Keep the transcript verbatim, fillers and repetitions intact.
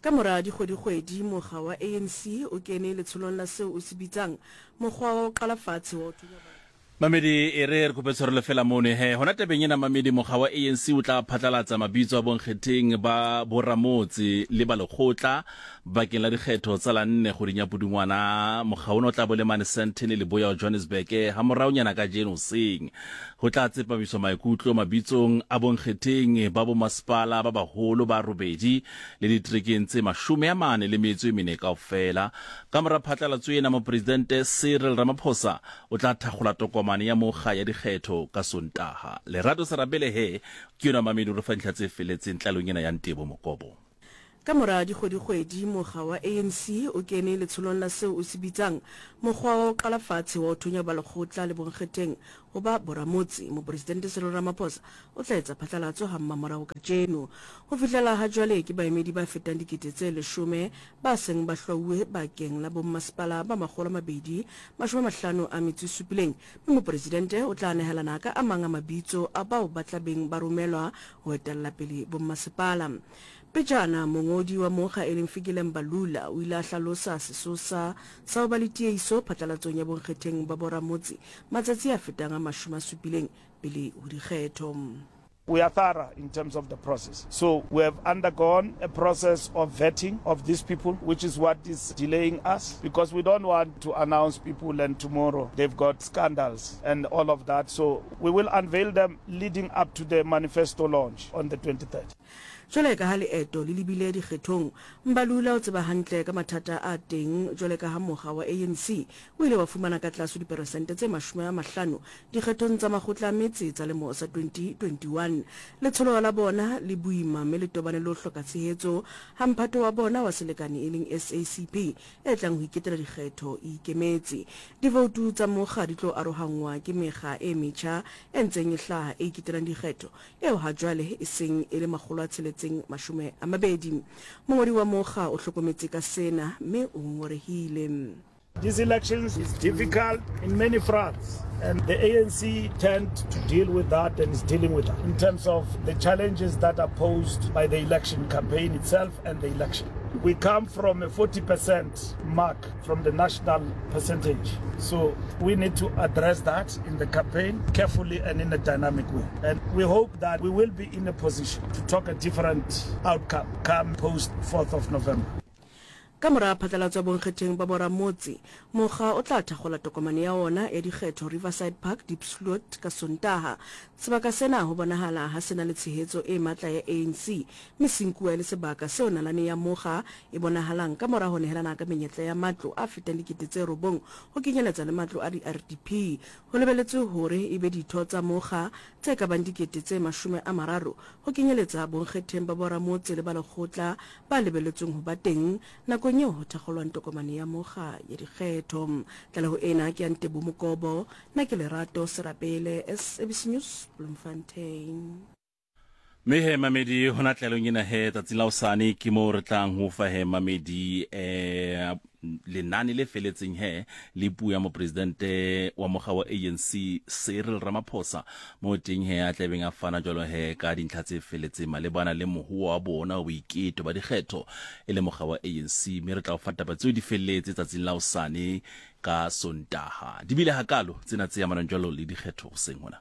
Ka mora dikgwedikgwedi, mokga wa A N C o kene letsholong la seo o se bitsang mokgwa wa ho qala fatshe wa ho thunya ba Mamedi, e re re kope tshwarelo fela mono he. Hona tabeng ena, mamedi, mokga wa A N C o tla phatlalatsa mabitso a bonkgetheng ba boramotse le ba lekgotla bakeng la dikgetho tsa la nne kgweding ya Pudungwana. Mokga ona o tla bo le mane Sandton, leboya wa Johannesburg, ha moraonyana kajeno hoseng. Ho tla tsepamiswa maikutlo mabitsong a bonkgetheng ba bomasepala ba baholo ba robedi le diterekeng tse mashome a mane le metso e mene kaofela. Ka mora phatlalatso ena, mopresidente Cyril Ramaphosa o tla thakgola tokomane ya mokga ya dikgetho ka Sontaha. Lerato Serabele he ke yona, mamedi, o re fa dintlha tse feletseng tlalong ena ya Ntebo Mokobo. Ka mora dikgwedikgwedi, mokga wa A N C o kene letsholong la seo o se bitsang mokgwa wa ho qala fatshe wa ho thonya ba lekgotla le bonkgetheng ho ba boramotse. Mopresidente Cyril Ramaphosa o tla etsa phatlalatso ha mmamorao kajeno. Ho fihlela ha jwale, ke baemedi ba fetang dikete tse leshome ba seng ba hlwauwe bakeng la bommasepala ba makgolo a mabedi mashome a mahlano a metso e supileng, mme mopresidente o tla nehelana ka a mang a mabitso a bao ba tla beng ba romelwa ho etella pele bommasepala. Pejana, mongodi wa mokga e leng Fikile Mbalula o ile a hlalosa sesosa sa ho ba le tieiso phatlalatsong ya bonkgetheng ba boramotse matsatsi a fetang a mashome a supileng pele ho dikgetho. We are thorough in terms of the process. So we have undergone a process of vetting of these people, which is what is delaying us, because we don't want to announce people and tomorrow they've got scandals and all of that. So we will unveil them leading up to the manifesto launch on the twenty-third. Jwale ka ha leeto le lebile dikgethong, Mbalula o tseba hantle ka mathata a teng, jwale ka ha mokga wa A N C o ile wa fumana ka tlase diperesente tse mashome a mahlano dikgethong tsa makgotla a metse tsa lemo sa twenty twenty-one. Letsholo la bona le boima mme le tobane le ho hloka tshehetso ha mphato wa bona wa selekane e leng S A C P e tlang ho iketela dikgetho e ikemetse. Divoutu tsa mokga di tlo arohanngwa ke mekga e metjha e ntseng e hlaha e iketelang dikgetho, eo ha jwale e seng e le makgolo a tsheletseng mashome a mabedi. Mongodi wa mokga o hlokometse ka sena mme o ngongorehile. These elections is difficult in many fronts, and the A N C tend to deal with that and is dealing with that in terms of the challenges that are posed by the election campaign itself and the election. We come from a forty percent mark from the national percentage. So we need to address that in the campaign carefully and in a dynamic way. And we hope that we will be in a position to talk a different outcome come post fourth of November. Ka mora phatlalatso ya bonkgetheng ba boramotse, mokga o tla thakgola tokomane ya ona ya dikgetho Riverside Park, Diepsloot ka Sontaha. Sebaka sena ho bonahala ha sena le tshehetso e matla ya A N C, mme se nkuwa e le sebaka seo nalane ya mokga e bonahalang ka mora ho nehelana ka menyetla ya matlo a fetang dikete tse robong, ho kenyeletsa le matlo a di-R D P. Ho lebeletswe hore e be ditho tsa mokga tse ka bang dikete tse mashome a mararo, ho kenyeletsa bonkgetheng ba boramotse le ba lekgotla, ba lebeletsweng ho ba teng nakong eo ho thakgolwang tokomane ya mokga ya dikgetho. Tlaleho ena ke ya Ntebo Mokobo. Nna ke Lerato Serapele, S A B C News, Bloemfontein. Mme he, mamedi, hona tlalong ena he tsatsing la hosane ke moo re tlang ho fa he, mamedi, eh lenane le feletseng he le puo ya mopresidente wa mokga wa A N C Cyril Ramaphosa, mo teng he a tlabeng a fana jwalo he ka dintlha tse feletseng malebana le mohoa wa bona wa boiketo ba dikgetho e le mokga wa A N C. Mme re tla o fa taba tseo di felletse tsatsing la hosane ka Sontaha. Di bile hakalo tsena tse amanang jwalo le dikgetho hoseng hona.